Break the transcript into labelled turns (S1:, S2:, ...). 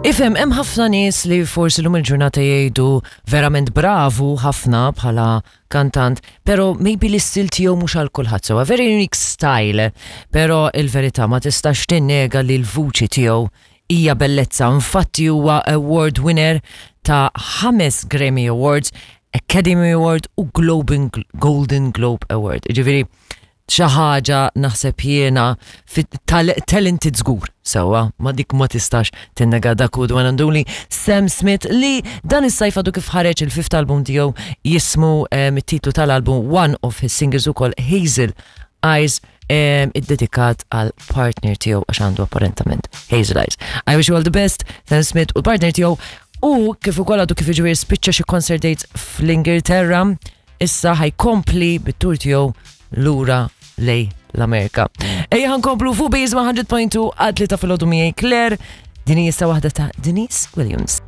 S1: Ifhem, hemm ħafna nies li forsi lum il-ġurnata jgħidu verament bravu ħafna bħala kantant, pero maybe l-istil tiegħu mhux għal kulħadd sewa. Very unique style, pero il-verità ma tistax tinnega li l-vuċi tiegħu hija bellezza. Infatti huwa award winner ta' ħames Grammy Awards, Academy Award u Golden Globe Award. Ġifieri, xi ħaġa naħseb jiena talented żgur sewwa ma dik ma tistax tinnega dak hu one and only Sam Smith li dan is-sajf għadu kif ħareġ il-fifth album tiegħu jismu it-titlu tal-album one of his singles ukoll Hazel Eyes iddedikat għal partner tiegħu għax għandu apparentament Hazel Eyes. I wish you all the best, Sam Smith u l-partner tiegħu u kif ukoll għadu kif jiġifieri spiċċa xi concert dates fl-Ingilterra issa ħajkompli bit-tur tiegħu lura lej l-Amerika. Ejja ħankomplu fuq Base 100.2 għad li ta' filgħodu miegħi Claire, din hija waħda ta' Denise Williams.